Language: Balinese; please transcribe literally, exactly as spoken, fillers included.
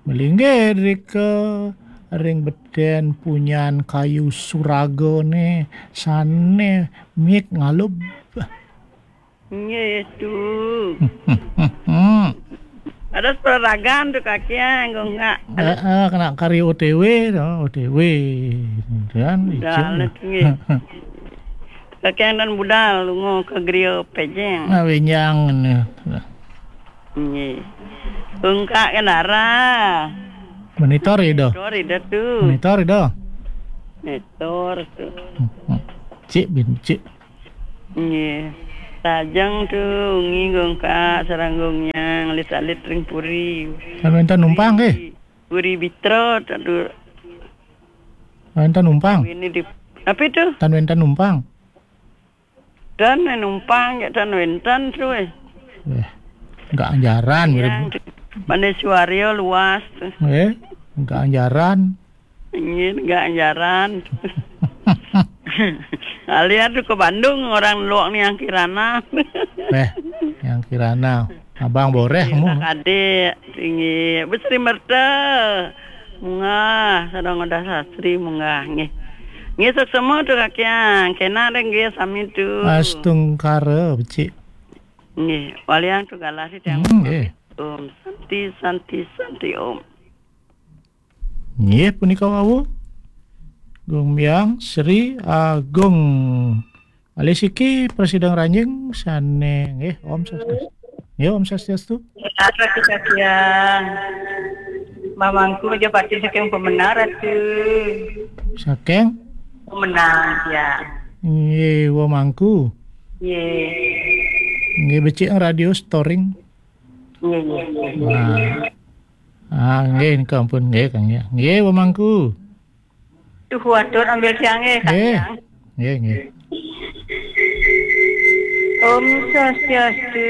Malinggih drika ring beten punyan kayu suragane sane mik ngalub. Nggih, Tu. Ada seraragan Tu, Kaki, ya, enggak, enggak. Eh, eh, kena kari O T W, tu, O T W. Dan licin. Dah, nggih. Kaki dan budal, lunga ke geria pejeng. Ah, benjang ni. Nggih. Enggak ke dara. Monitor ida. Monitor ida Tu. Monitor ida. Monitor Tu. Hmm, hmm. Cik bin, cik. Nggih. Tajeng Tu, ngi gong ka sarang gong nyang alit-alit ring puri. Kan wenten numpang, nggih? Puri Bitra, aduh. Wenten numpang? Ini di, apa itu? Tan wenten numpang? Tan numpang, ya, tan wenten Tu, eh. Eh, enggak anjaran, yang gitu. Mana suario luas Tu. Eh, enggak anjaran. Nggih, enggak anjaran. Alian Tu ke Bandung, orang luak ni yang Kirana. Eh, yang Kirana. Abang boreh mu. Adik, tinggi. Besri merta. Munggah, sareng Uda Sastri munggah. Nggih. Nggih, suksma Tu, Kaki, ya. Kena deh, nggih, sami Tu. Astungkara, becik. Nggih, walian Tu galah si tiang. Hmm, nggih. Om Santi, Santi, Santi, Om. Nggih, punika wau. Gong Myang Sri Agung. Alih siki prasida ngranjing sane nggih, Om Swastiastu. Nggih, Om Swastiastu. Ratu Kaki, ya. Mamangku Majapahit saking Pemenang, Ratu. Saking? Pemenang, ya. Nggih, wamangku. Nggih. Nggih, becik radio storing. Nggih, nggih, nggih. Nah. Ah, nggih, nika ampun, nggih, Kang, ya. Nggih, wamangku. Tuh, watur ambil siang, nggih, Kang, nggih, ya. Nggih, nggih. Om Swastiastu.